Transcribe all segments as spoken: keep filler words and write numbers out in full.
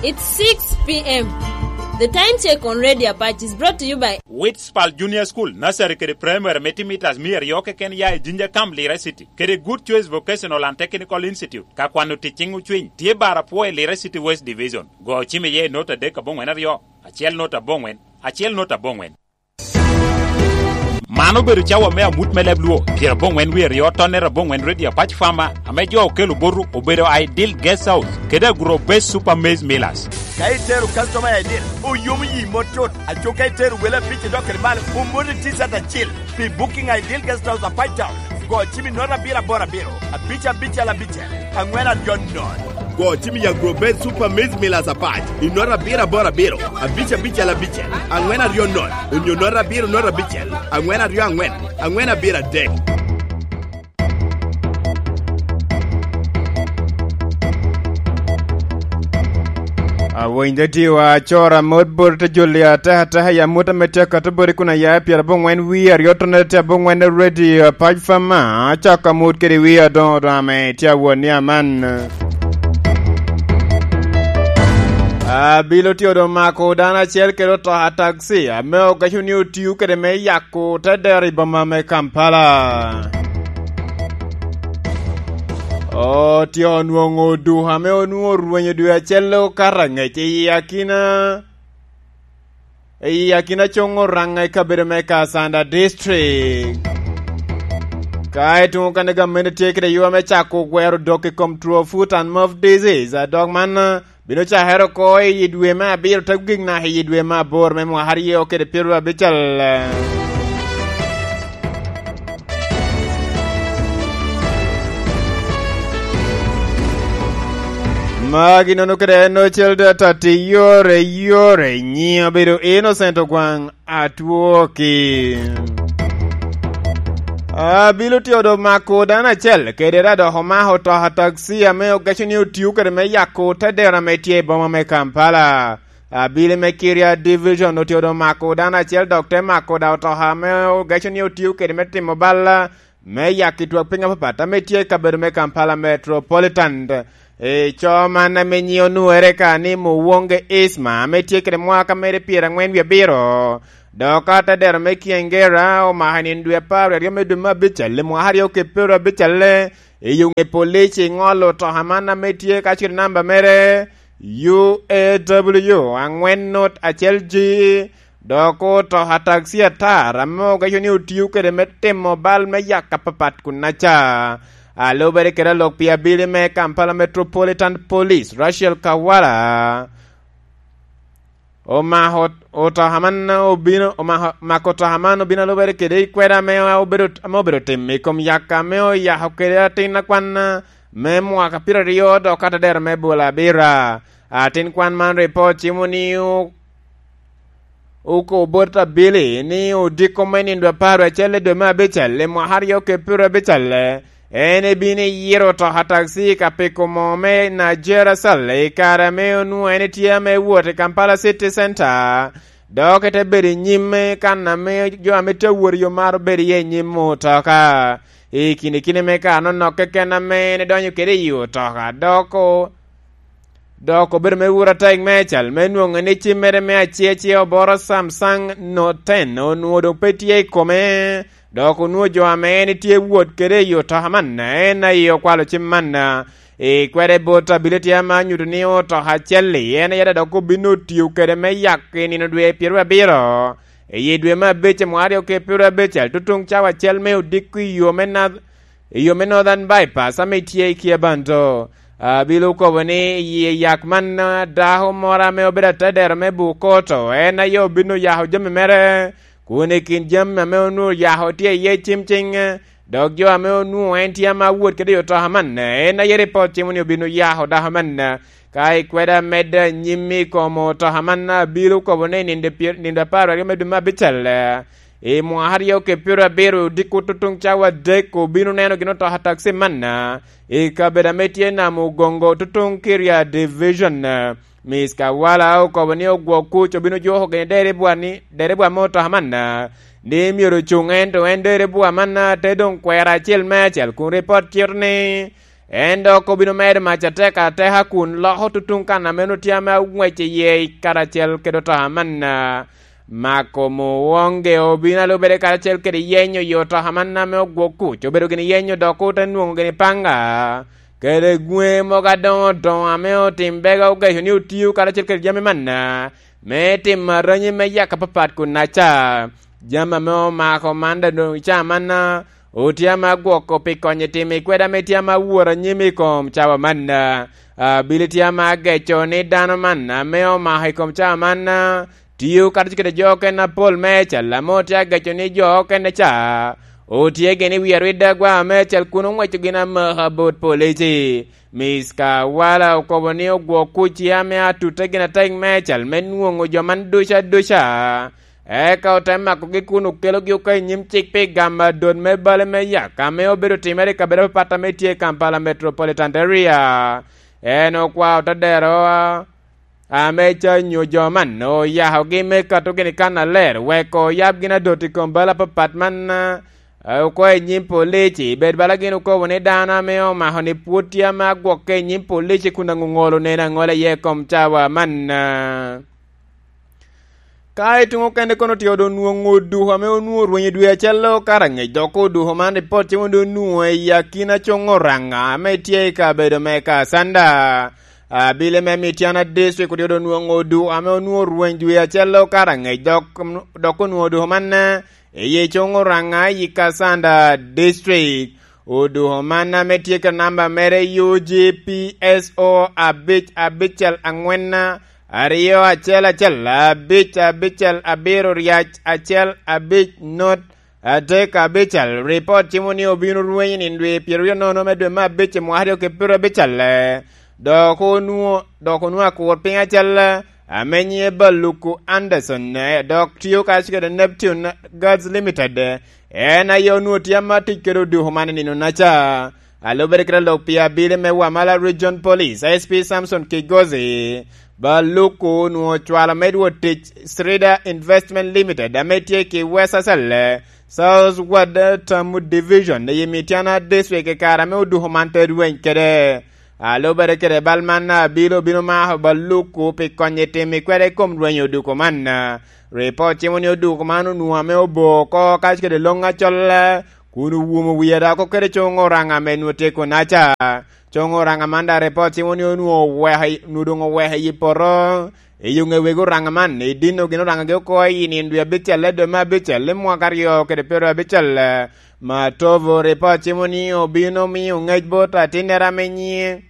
It's six p.m. The time check on Radio Apache is brought to you by Whitspal Junior School, Nursery kede Primary me timitas mia aryo keken ya i Jinja Camp, Lira City, kede Good Choice Vocational and Technical Institute. Ka kwano tic ciŋ ocwiny, tye bar apwo i Lira City West Division. Go cim iye i nota adek aboŋwen aryo, acel nota aboŋwen, acel nota aboŋwen. Man obedo cawa me amut me leb Luo, pyeraboŋwen wie aryo, tonnere aboŋwen, Radio Apac Farmer, ame jo okelo boto obedo Ideal Guest House kede Agro Base Super Maize Millers. Ka itero customer Ideal, oyomo yi mot tut. Aco ka itero wele abic idok kede malo, omoti T-shirt acil. Pi booking Ideal Guest House Apac Town, go cim i nota abiro aboro abiro, abic abicel abicel, aŋwen aryo nono. Go cim i Agro Base Super Maize Millers Apac i nota abiro aboro abiro, abic abicel abicel, aŋwen aryo nono, onyo nota abiro nota abicel, aŋwen aryo aŋwen, aŋwen abiro adek. Awiny dadiwa, acora mot bot te joli ateka ateka i amut ame tye akato bot i kun aya i pyeraboŋwen wie aryo tonnere tye aboŋwen, Radio Apac Farmer, acako amut kede wie adoŋo doŋ ame tye awot ni aman. Abilo tye odoŋ mako dano acel kede otoka taxi ame ogaco ni otio kede me yako te dero i boma me Kampala. Otyeko nwoŋo duka ame onwoŋo orwenyo dwe acel okato angec i akina, i akina coŋ Oraŋa i kabedo me Kasanda District. Ka i tuŋ okene gamente tye kede ywa me cako gwero dok i kom two foot and mouth disease, a dok man bino cakere oko i dwe me abiro te gik naka i dwe me aboro me mwaka aryo kede pyeraryo abicel. Magi nono kede en ocel data ti yore yore nyiŋ obedo Innocent Ogwaŋ Atwoki. Abilo tye odo mako dano acel kede ra dok omako otoka taxi ame ogeco ni otio kede me yako te dero ame tye i boma me Kampala. Abili me Kiria Division otye odo mako dano acel dok te mako da otoka ame ogeco ni otio kede me timo bal me yaki twak piny apapat ame tye i kabedo me Kampala Metropolitan. I co man ame nyiŋe onwoŋere ka ni Muwonge Isma ame tye kede mwaka mere pyerangwen wie abiro, dok ka te dero me Kiengera omako i nino dwe apar aryo me dwe me abicel i mwaka aryo kede pyeraryo abicel, i yo ŋe polic i ŋolo otoka man ame tye ka cito namba mere U A W angwen not acel G, dok otoka taxi atar ame ogeco ni otio kede me timo bal me yaka apapat kunnaca. A lubere kede alok pi abili me Kampala Metropolitan Police, Rachel Kawala, omako otoka man obino, omako, mako otoka man obino a lubere kede i kweda ame obedo, ame obedo tim i kom yaka ame oyako kede atin akwan me mwaka pyeraryo dok ka te dero me bolo abira. Atin kwan man ripot cimo ni o-, okobo bot abili ni odiko me nino dwe apar acel i dwe me abicel i mwaka aryo kede pyeraryo abicel, en ebino iyiro otoka taxi ka piko moo me Nigeria Sal i kare ame onwoŋo en etye ame wot i Kampala City Center, dok ete bedo i nyim kan ame jo ame tye awot i yo mar obedo iye i nyim otoka. I kine kine me kare nonok keken ame en edonyo kede i otoka, dok o-, dok obedo me wuro atek me cal me nwoŋo ni cimmere me aciacia oboro Samsung Note ten onwoŋo doŋ pe tye i kome, dok onwoŋo jo ame en tye wot kede i otoka man, en aye okwalo cim man. I kwede bot ability ame anyuto ni otoka acel-li, en aye dok obin otio kede me yak i nino dwe pyeraryo abiro, i dwe me abic i mwaka aryo kede pyeraryo abicel, tutuŋ cawa acel me odiko i yo me North-, i yo me Northern Bypass ame tye i Kiabanto. Abilo okobo ni i yak man, a, dako moro ame obedo atedero me Bukoto, en aye obin oyako jami mere, kun i kin jami ame onwoŋo oyako tye iye cim ciŋ, dok jo ame onwoŋo en tye ame awot kede i otoka man, en aye ripot cimo ni obin oyako dako man. Ka ikweda amedde anyim i kom otoka man, abilo okobo ni nindo pyer-, nindo apar aryo me dwe me abicel, i mwaka aryo kede pyeraryo abiro, odiko tutuŋ cawa adek, obino neno gin otoka taxi man, i kabedo ame tye Namugongo, tutuŋ Kiria Division. Miss Kawala okobo ni ogwok kuc obino juko gini deribwa ni, deribwa me otoka man, ni myero ocuŋ, ento en deribwa man te doŋ kwero acel me acel, kun ripot cito ni En dok obino medo mac atek ateka kun loko tutuŋ kan ame onwoŋo tye ame aŋwec iye karacel kede otoka man. Mako Muwonge obino a lubere karacel kede yenyo yo otoka man ame ogwok kuc, obedo gini yenyo dok ote nwoŋo gini panga kede gwe mogo adoŋo doŋo ame otim bega ogeco ni otio karacel kede jami man, me timo aranyi me yaka papat kun aca. Jami ame omako man da doŋ i caa man, otye ame agwoko pi konyo i timo i kweda ame tye ame awor anyim i kom cawa man. Abili tye ame ageco ni dano man ame omako i kom cawa man, tio karacel kede jo okene apol meicel ame otye ageco ni jo okene ca otye gin i wi arwi dagwa meicel kun oŋweco gin amaka bot polici. Miss Kawala okobo ni ogwok kuc ame atute gin atek meicel me nwoŋo jo man duca duca. Eka ote makogi kun okelogi oko i nyim cik pi gamo adot me bale me yaka ame obedo timere i kabedo apapat ame tye i Kampala Metropolitan Area. En okwao te dero ame ca nyo jo man oyakogi me kato gini kan aler, weko oyab gin adot i kom bal apapat man, eh, oko i nyim polici. Bed bala gin okobo ni dano ame omako ni pwod tye ame agwokke i nyim polici kun aŋoŋolo neno aŋola iye i kom cawa man. Ka i tuŋ okene kono tye onwoŋo oduko ame onwoŋo orwenyo dwe acel okato angec, dok oduko man ripot cimo ni onwoŋo i akina coŋ Oraŋa ame tye i kabedo me Kasanda. Abili me Mityana District otye onwoŋo oduko ame onwoŋo orweny dwe acel okato angec, dok, dok onwoŋo oduko man, eh, i coŋ Oraŋa i Kasanda District. Oduko man ame tye ka namba mere U G P S O abic abicel angwen aryo acel acel abic abicel abiro ryac acel abic not adek abicel. Ripot cimo ni obino rweny i nino dwe pyeraryo nono me dwe me abic i mwaka aryo kede pyeraryo abicel. Dok onwoŋo, dok onwoŋo akur piny acel ame nyiŋe Baluku Anderson, eh, dok tio kacel kede Neptune Gas Limited, en aye onwoŋo tye ama tic kede oduko man i nino-naca. A lubere kede lok pi abili me Wamala Region Police, S P Samson Kigozi, Baluku onwoŋo ocwalo me dwot tic Srida Investment Limited ame tye ki West Asale, South Ward Tamu Division, i Mityana District i kare ame oduko man te rweny kede. A lubere kede bal man, abili obino mako Baluku pi konye timo i kwede i kom rwenyo oduko man. Ripot cimo ni oduko man onwoŋo ame obo oko kacel kede loŋ acol, kun owumo wie dok okede coŋ Oraŋa ame nwoŋo tye kunaca. Coŋ Oraŋa man daŋ ripot cimo ni onwoŋo oweko i, onwoŋo doŋ oweko i poto. I yo ŋe wegi Oraŋa man, i dino gin Oraŋa gi oko i nino dwe abicel, dwe me abicel, i mwaka aryo kede pyeraryo abicel. Matovo ripot cimo ni obino miyo ŋec bot atinnere ame nyiŋe,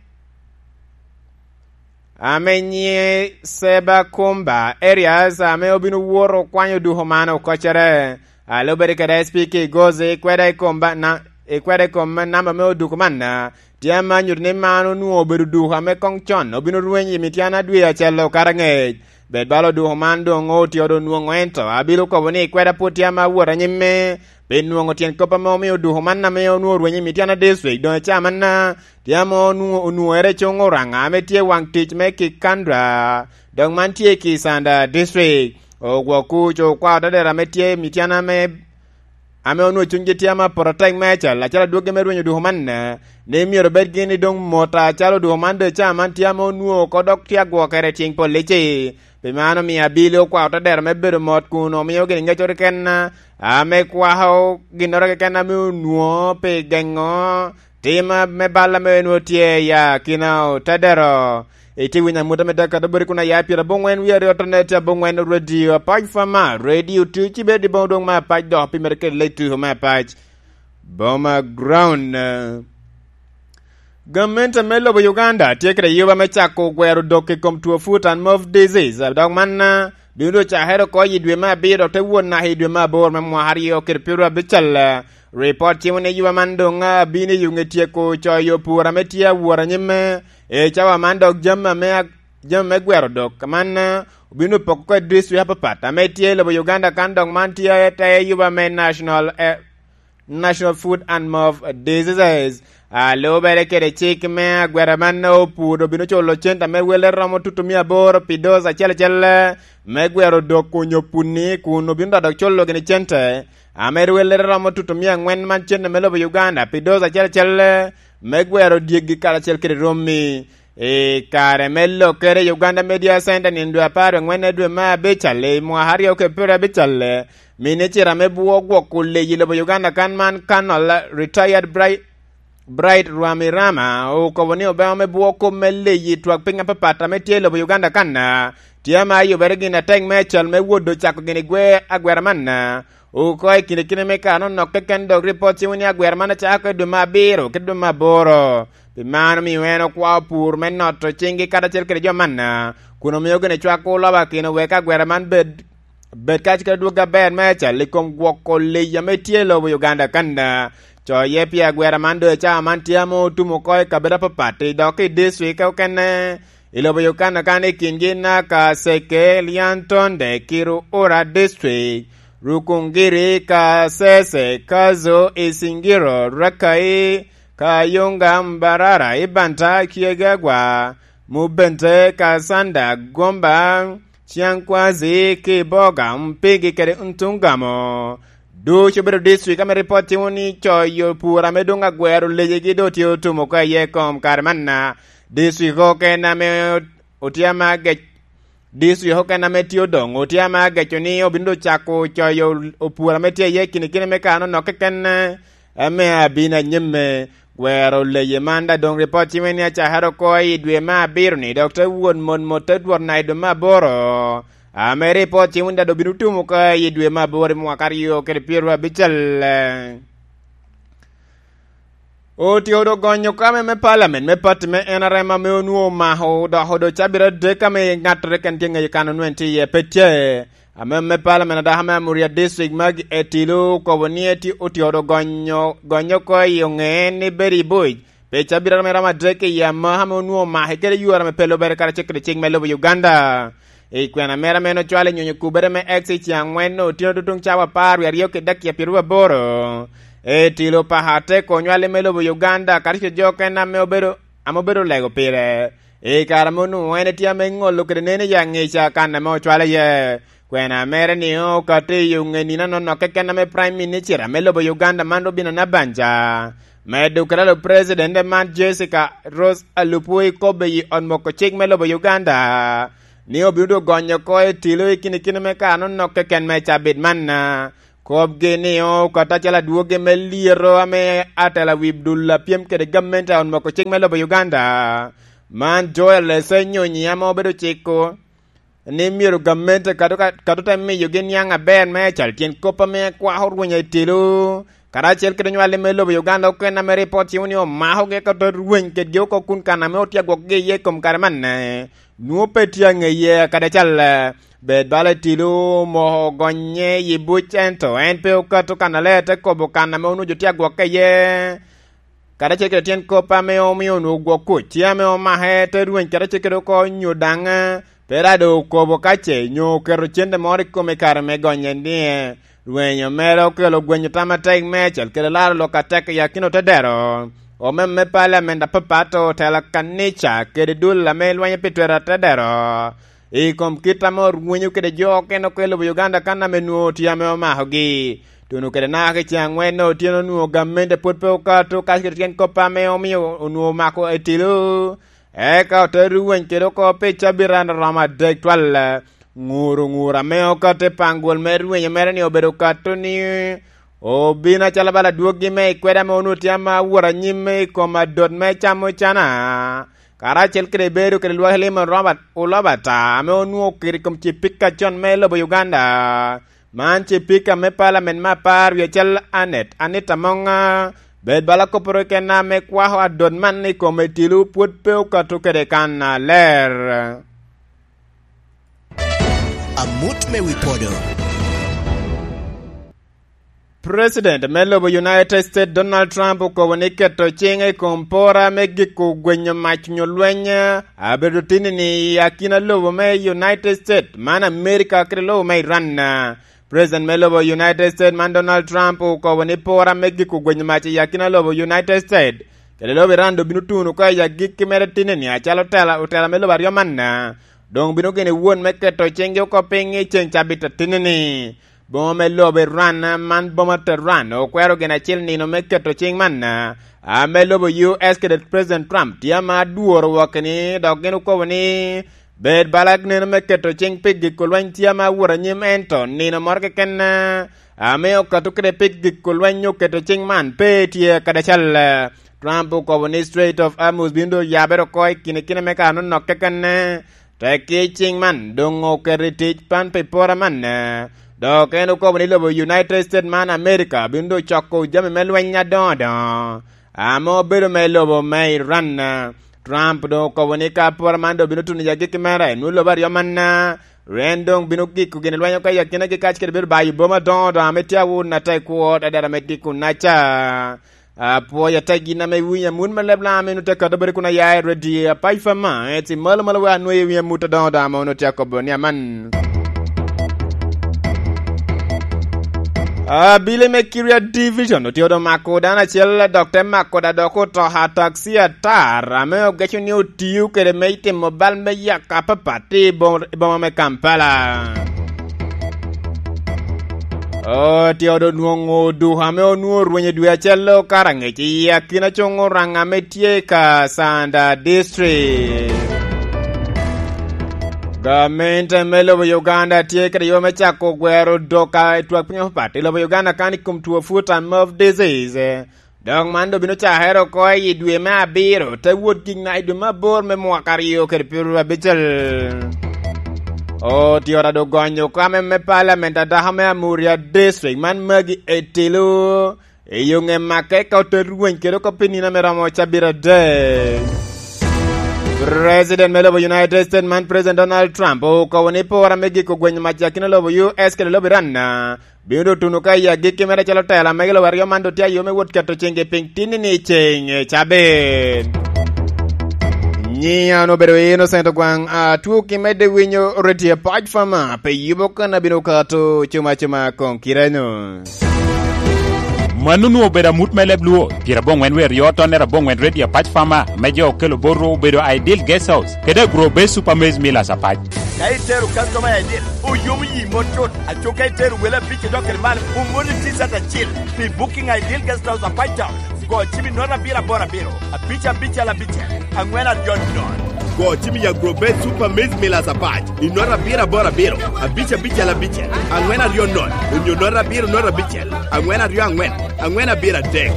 ame nyiŋe Seba Kumba Erias, ame obino woto okwanyo oduko man okocere. A lubere kede S P Kigozi, ikweda i kom ba-, na-, ikweda i kom namba me oduko man, tye ame anyuto ni man onwoŋo obedo oduko ame koŋ con obino rweny i Mityana dwe acel okato angec. Bed bala oduko man doŋ otye onwoŋo, ento abilo kobo ni ikweda pwod tye ame awot anyimme, pi nwoŋo tyen kop ame omio oduko man ame onwoŋo orwenyo i Mityana District doŋ i caa manna, tye ame onwoŋo, onwoŋere coŋ Oraŋa ame tye waŋ tic me Kikandra, dok man tye i Kisanda District. Ogwok kuc okwao tadera ame tye i Mityana ame, ame onwoŋo cunygi tye ame apoto atek meicel, acalo adwoggi me rwenyo oduko man, ni myero bed gin i doŋ mot acalo oduko man doŋ i caa man tye ame onwoŋo oko dok tye agwokere i cing polici. Pi man omio abili okwao tadera me bedo mot kun omio gin ŋeco keken ame kwako ginnoro keken ame onwoŋo pi geŋo tim me bal ame onwoŋo tye i akina otadero. Itye winyo amut ame tye akato boti kun aya pyeraboŋwen wie aryo tonne tye aboŋwen Radio Apac Fama, Radio Two, ci bed i boŋo dwoŋ me Apac dok pi mere kede lec tuko me Apac. Boma Ground. Gamente me lobo Uganda tye kede yuba me cako gwero dok i kom two foot and mouth disease, dok man, eh, bino doŋ cakere oko i dwe me abiro dok te wot naka i dwe me aboro me mwaka aryo kede pyeraryo abicel. Ripot cimo ni yuba man doŋ, ah, bino i yuŋe tyeko coyo pur ame tye awot anyim, eh, i cawa man, dok jami ame ag-, jami me gwero dok man, eh, obino poko oko i district apapat ame tye i lobo Uganda kan, dok man tye te yuba me National, eh, National Food and Mouth Diseases. A lubere kede cik me agwera man, opur obino culo cente me welle romo tutu mia aboro pi doz acel acel me gwero dok onyo puni, kun obino dok culo gini cente ame welle romo tutu mia angwen man cente me lobo Uganda pi doz acel acel me gwero dyegi karacel kede rommi. I kare me lokkere i Uganda Media Center nino dwe apar angwen dwe me abical i mwaka aryo kede pyero abical, minicita me bwo gwoko leyi i lobo Uganda kan man, Colonel Retired Bright, Bright Rwamirama, okobo ni obeo me bwo kop me leyi twak piny apapat ame tye i lobo Uganda kan, tye ame ayubere gin atek me acal me wot ocako gin i gwe agwera man. Oko i kine kine me kare onok keken, dok ripot ciwo ni agwera man acako i dwe me abiro kede dwe me aboro. Pi man omio en okwao pur me noto ciŋgi karacel kede jo man, kun omio gin cwako lobo akino wek agwera man bed, bed kacel kede dwog aber me acal i kom gwoko leyi ame tye i lobo Uganda kan. Coye pi agwera man doŋ i cawa man tye ame otum oko i kabedo apapat, dok i district okene i lobo Uganda kan, i kingi Nakaseke, Lyantonde, Kiruhura District, Rukungiri, Kasese, Kazo, Isingiro, Rakai, Kayunga, Mbarara, Ibanta, Kiegagwa, Mubente, Kasanda, Gomba, Ciankwazi, Kiboga, Mpigi kede Ntungamo. Ducu obedo district ame ripot timo ni coyo pur ame doŋ agwero lejegi doŋ tye otum oko iye i kom kare man. District okene ame otye ame agec, district okene ame tye odoŋ otye ame ageco ni obino doŋ cako coyo opur ame tye iye kinikini me kano nok keken, ame abino anyim me gwero leye man. Da doŋ ripot timo ni acakere oko i dwe me abiro ni, dok te wot mot mot te dwot na i dwe me aboro, ame ripot timo ni da doŋ bino tum oko i dwe me aboro i mwaka aryo kede pyero abical. Otio doŋ gonyo kame me parliament me party me N R M ame onwoŋo omako doko doŋ cabit adek ame ŋattoro keken tye ŋeyo kan onwoŋo en tye iye pe tye. Ame me parliament adaka me Amuria District, Maggie Etilu, okobo ni eti-, otio doŋ gonyo, gonyo oko i oŋe ni bedo i buc pi cabit ame romo adek i amaka ame onwoŋo omake kede yore ame pe lubere karacel kede cik me lobo Uganda. I kwena mere ame en ocwalo i nyonyo kubere me X i ceng angwen otyeno tutuŋ cawa apar wie aryo kede dakika pyeraryo aboro, Etilo paka atek onywali me lobo Uganda, karacel jo okene ame obedo, ame obedo lego pire. I kare ame onwoŋo en etye ame ŋolo kede neno i aŋica kan ame ocwalo iye. Kwena mere ni okato i oŋe nino anono keken ame Prime Minister ame lobo Uganda man Robinah Nabbanja, medo kede alo President man Jessica Rose Alupo i kobbe i ot moko cik me lobo Uganda, ni obino doŋ gonyo oko Etilo i kinikini me kare anono keken me cabit man. Kop-gi ni okato acalo adwogi me lyeto ame atela wi dul a pyem kede gamente a ot moko cik me lobo Uganda, man Joel Ssenyonyi ame obedo ciko ni myero gamente kato ka, kato te miyogi niaŋ aber me acal tyen kop ame kwako rweny Etilo, karacel kede onywali me lobo Uganda okene ame ripot cimo ni omakogi eka ote rweny kedgi oko kun kan ame otye agwokgi iye i kom kare man. Nwoŋo pe tye aŋeye kadi acal. Bed bala Etilo omoko gonye i buc, ento en pe okato kannaler te kobo kan ame onwoŋo jo tye agwokke iye, karacel kede tyen kop ame omio onwoŋo gwok kuc, tye ame omake te rweny karacel kede oko nyo daŋ pe rado okobo ka ce nyo oketo cente moro i kome i kare me gonye ni. Rwenyo mere okelo gwenyo tam atek me acel kede laro lok atek i akina otedero. Omem me paliament apapat, otela kanica kede dul ame lwenyo pi twero atedero i kom kit ame orwenyo kede jo okene oko i lobo Uganda kan ame nwoŋo tye ame omakogi. Tuno kede naka ki ceng angwen otyeno onwoŋo gamente pwod pe okato kac kede tyen kop ame omio onwoŋo omako Etilo. Eka ote rweny kede oko pi cabit a romo adek twal. Ŋuro ŋuro ame okato i paŋ gwol me rwenyo mere ni obedo okato ni obin acalo bala adwoggi me i kwede ame onwoŋo tye ame awot anyim i kom adot me camo cana, karacel kede bedo kede lwak limo Robert Olobata ame onwoŋo oketo i kom cipika con me lobo Uganda. Man cipika me paliament me apar wie cal Anet Anita Moŋa, bed bala kopporo kena ame kwako adot man i kom Etilo pwod pe okato kede kannaler. Amut me wi podo. President me lobo United States Donald Trump okobo ni keto ciŋe i kom pora me giko gwenyo mac nyo lweny abedo tinni i akina lobo me United States, man America kede lobo me Iran. President me lobo United States man Donald Trump okobo ni pora me giko gwenyo mac i akina lobo United States kede lobo Iran doŋ bino tuno oko i agikki mere tinni acalo otela, otela me lobo aryo man doŋ bino gene won me keto ciŋgi oko piny i ceŋ cabit atinni-ni. Boma me lobo Iran, man boma Tehran, okwero gin acel nino me keto cing man, ame lobo U S kede President Trump tye ame adworo wokki ni, dok gin okobo ni, bed bala neno me keto cing pi giko lweny tye ame awot anyim, ento nino moro keken ame okato kede pi giko lweny oketo cing man pe tye kadi acal. Trump okobo ni Strait of Hormuz bino doŋ oyabere oko i kine kine me kare nonok keken. Tekki cing man doŋ oketo i tic pan pi pora man, dok en okobo ni lobo United States man America bino doŋ coko jami me lweny adoŋo adoŋo ame obedo me lobo me Iran. Trump doŋ okobo ni ka pora man doŋ bino tuno i agikki mere, nwoŋo lobo aryo man, en doŋ bino giko gin lweny oko i akinagi kacel kede bedo bayo boma adoŋo adoŋo ame tye awot atek kwot adada me giko naca. Apwoyo ata gin ame iwinyo amut me leb lam eno te kato bedo kun aya i redio apac fama, eti malo malo wek anwoyo i wi amut adoŋo daŋ ame onwoŋo tye akobo ni aman. Abili me Kiria Division otye odo mako dano acel dok te mako da dok oto a taxi atar ame ogeco ni otio kede me timo bal me yaka apapat i bo-, i boma me Kampala. Otye odo nwoŋo duko ame onwoŋo orwenyo dwe acel okato aŋec i akina coŋ Oraŋ ame tye i Kasanda District. Gamente me lobo Uganda tye kede yo me cako gwero dok a i twak piny apapat i lobo Uganda kan i kom two foot and mouth disease. Dok man doŋ bino cakere oko i dwe me abiro, te wot gik na i dwe me aboro me mwaka aryo kede pyeraryo abicel. Otyota doŋ gonyo oko ame me Parliament adako me Amuria District man Magi Etilu. I yo ŋe make ka ote rweny kede oko pi nino ame romo cabit adek. President me lobo United States man President Donald Trump okobo ni pora me giko gwenyo mac i akina lobo U S kede lobo Iran na bino doŋ tuno ka i agikki mere acalo tela mege lobo aryo man doŋ tye ayo me wot keto ciŋgi piny tinni ni i ceŋ cabit. Nyiŋa onwoŋo obedo Innocent Ogwaŋ, atwoo ki medde winyo redio Apac Fama, pe yubo kan abino kato cuma cuma koŋ kireno. Mano onwoŋo obedo amut me leb Luo, pyeraboŋwen wie aryo tonnere aboŋwen redio Apac Fama, me jo okelo botwu obedo Ideal Guest House, kede Agro Base Super Maize Millers Apac. Ka itero customer I D, oyomo yi mot cut. Aco ka itero wele abic odok kede malo, oŋolli T-shirt acil pi booking Ideal Guest House Apac Town. Go cim i note abiro aboro abiro, abic abicel abicel, aŋwen aryo nono. Go cim i Agro Base Super Maize Millers Apac i note abiro aboro abiro, abic abicel abicel, aŋwen aryo nono, onyo note abiro note abicel, aŋwen aryo aŋwen, aŋwen abiro adek.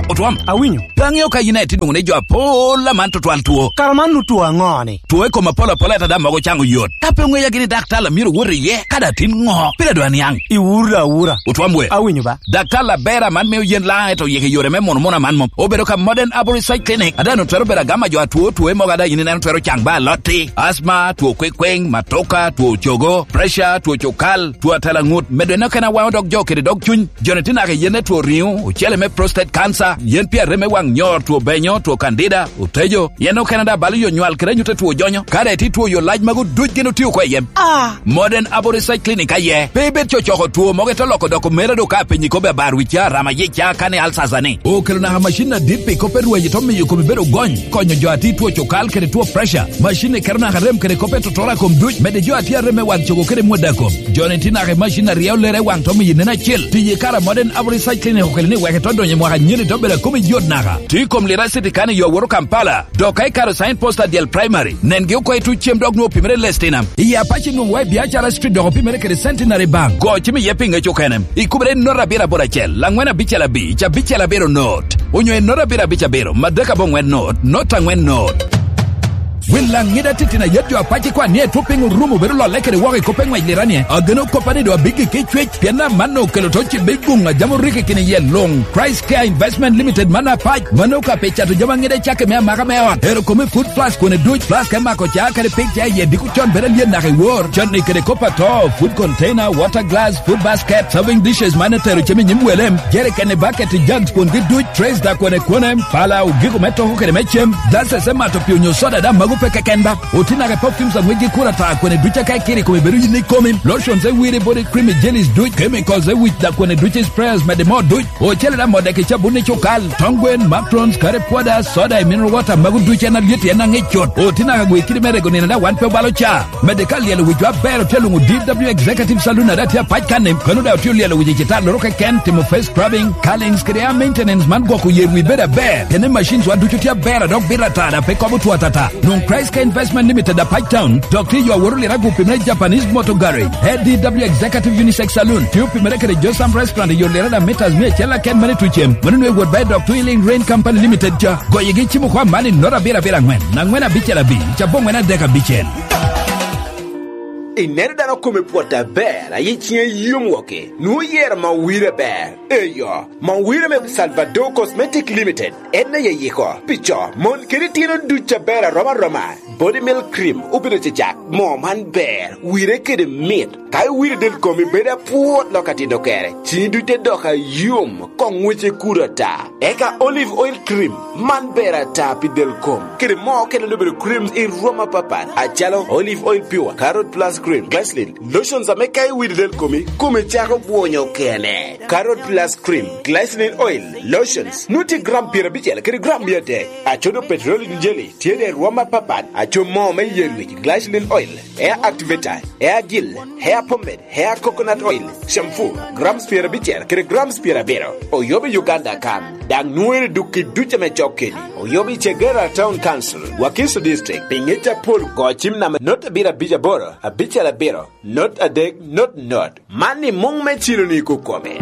Otwom. Awinyo. Pe aŋeo ka in aye tye nwoŋo ni jo apol aman tutwal two. Kara man nu two aŋo-ni? Two i kom apol apol ata daŋ mogo caŋo yot. Ka pe oŋeya gini daktar a myero owot iye, ka daŋ tin ŋo? Pire dwe aniaŋ. Iwuro da awura. Otwom we. Awinyo ba. Daktar aber aman mio yen laŋ eto yeke yore me mono mono aman mom. Obedo ka Modern Arborist Side Clinic. Ada no twero bedo agama jo atwo two mogo ada in ineno twero caŋ ba alotti. Asma, two kwekweng, matoka, two cogo, pressure, two cukal, two atela ŋut. Medo en okene awaŋo dog jo kede dog cuny. Joni tye naka i yen me two riŋo, ocele me prostate cancer, yen pi arem me waŋ nyor, two benyo, two candida, otejo, yen okene daŋ balo yo nywal kede anyut a two jonyo. Ka daŋ itye two yo lac magu duc gin otio oko i yem. Ah! Modern Aboriginal Clinic aye. Pe ibed cocoko two mogo ite loko doko mera do ka apenyi kobbe abar wicca, rama yicca, kane alsasa ni. Okelo naka macin adit pi kop me rweny ito miyo komi bedo gony, konyo jo a tye two cukal kede two pressure. Macin ni keto naka rem kede kop me totoro a kom duc, medde jo a tye arem me wang cogo kede mwodda kom. Joni tye naka i macin a ryeo lere i waŋ to miyo nen acil. Tiyo i kare a Modern Average Research Clinic okelo ni wek ito donyo i mwaka anyeni to bedo a komi yot naka. Tye i kom Lira City kan i yo awoto Kampala. Dok ka ikaro Sign Post adyel Primary, nengi oko i tuc cem dok nwoŋo opimere i Lestinam. I Apac nwoŋo wa i Biacara Street dok opimere kede Centenary Bank. Go cim iye pi ŋec okene. Ikubere i note abiro aboro acel, angwen abicel abic, abicel abiro note. Onyo i note abiro abic abiro, madek aboŋwen note, note angwen note. Wil laŋ ŋida titino ayet jo Apac ikwan ni etwo piny orumo bedo lolle kede woko i kop me ŋwec Lira ni, ageno koppa ni doŋ abiggi ki cwec, pien amanno okelo to cibbe i guŋ a jami orikki kini iye luŋ. Christ Care Investment Limited man Apac, mano ka pe cato jami aŋida cakke me amaka me ot. Ero kome food flask kone duc, flask me mako ca kede pig ca iye diko con bedo alyen naka i wor. Canni kede kop ato, food container, water glass, food basket, serving dishes man etero cem i nyim welem, jerikeni, bucket, jugs, kwongi duc, trays da kone kone, pala, ogiko me toko kede me cem, glasses me mato pii onyo soda da magu pe Keken ba, otinaga perfumes a ŋwec gi kuro ata kwene duc aka ikiro i kome bedo yin i komi, lotions e wire body cream i jellies duc, chemicals e wic da kwene duc i sprayers mede mo duc, ocele da mode ki cabun i cukal, tong gwen, matrons, curry powder, soda i mineral water, magu duc en alyet en aŋic cut. Otinaga gwe kidi me rego nino da wan pe obalo ca. Mede ka lyelo wicwa aber otye luŋo D W Executive Saloon ada tye apac kan-ni, kano da otye olyelo wic i citalloro keken, timo face scrubbing, curlings kede hair maintenance man gwoko yer wi bedo aber. Kene machines wa ducu tye aber a dok bito ata da pe kobo two atata. Nwoŋo Christ Care Investment Limited a Pac Town, dok tye yo awot oliro agupi me Japanese Motor Garage. A D W Executive Unisex Saloon, tye opimere kede Josam Restaurant i yo liro da meters mia acel aken mene tucem. Mano nwe wot ba i dok Twilling Rain Company Limited ca. Goyigi cimo kwa man i nota abiro abiro aŋwen, aŋwen abicel abic, cabongwen adek abicel. Ineno dano kome pwot aber, aye ciŋe yom woki, nwoŋo yero ma wire ber. Eyo, Mawira me Salvador Cosmetic Limited en aye yiko pi co, mon kede tyeno duc aber arom aroma. Body Milk Cream obedo cecak, moo man ber, wire kede mit. Ka iwiro del komi bedo apwot lok atito kere, cini duc te dok ayom, koŋ ŋwece kudo ata. Eka Olive Oil Cream, man ber ata pi del kom, kede moo okene obedo creams i rwom apapat, acalo Olive Oil Pure, Carrot Plus Cream, Glycerin, lotions ame ka iwiro del komi, kome cako bwonyo kene. Carrot Plus Cream, Glycerin Oil, Lotions, nwoŋo tye gram pyerabicel kede gram mia adek. Acodo Petroleum Jelly, tye de rwom apapat, aco moo me yer wic, Glycerin Oil, Hair Activator, Hair Gel, Hair Pomade, Hair Coconut Oil, Shampoo, grams pyerabicel kede grams pyerabiro. Oyobo i Uganda kan, daŋ nwoŋere duk i duc ame cok kedi. Oyobo i Chegera Town Council, Wakiso District, pi ŋec apol go cim namba not abiro abic aboro, abicel abiro, not adek, not not. Man i muŋ me cilo ni kukome.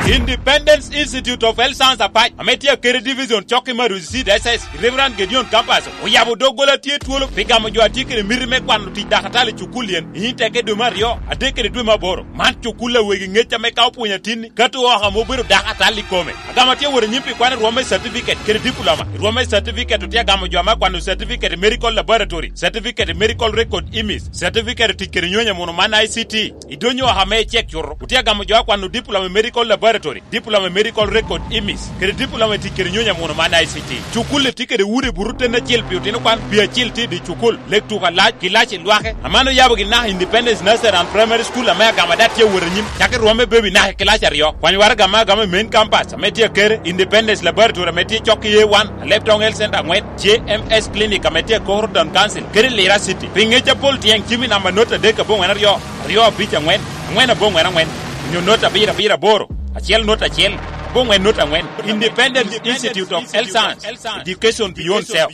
Independence Institute of Health Science Apac, ame tye akede division cok i Marusi Seed S S, Reverend Gideon Campus, oyabo doggola tye twolo pi gamo jo a tye kede miti me kwano tic dakatal i cukul yen, i nyim teke dwe me aryo, adek kede dwe me aboro. Man cukul a wegi ŋec ame ka opwonyo atinni, kato oko ame obedo dakatal i kome. Agamo tye wot anyim pi kwano rwom me certificate kede diploma. I rwom me certificate otye agamo jo ame akwano certificate i medical laboratory, certificate i medical record imis, certificate i tic kede nyonyo muno man I C T. Idonyo oko ame icek cuto, otye agamo jo akwano diploma i medical laboratory, diploma i medical record imis, kede diploma i tic kede nyonyo muno man I C T. Cukul-li tye kede udi buto ten acel pi otino kwan, pi acel tye i dye cukul, lek tuko alac, kilaci lwake. Aman oyabo gin naka Independence Nursery and Primary School ame agamo ada tye awot anyim, cako i rwom me baby naka i kilaci aryo. Kwany waraga ame agamo i main campus ame tye akere, Independence Laboratory ame tye cok i A one, Alebtong Health Center aŋwen, J M S Clinic ame tye i Koro Town Council, kede Lira City. Pi ŋec apol tyeng cim i namba not adek aboŋwen aryo, aryo abic aŋwen, aŋwen aboŋwen aŋwen, onyo not abiro abiro aboro, acel not acel, aboŋwen not aŋwen. Independence Institute of Health Science, Education Beyond Self.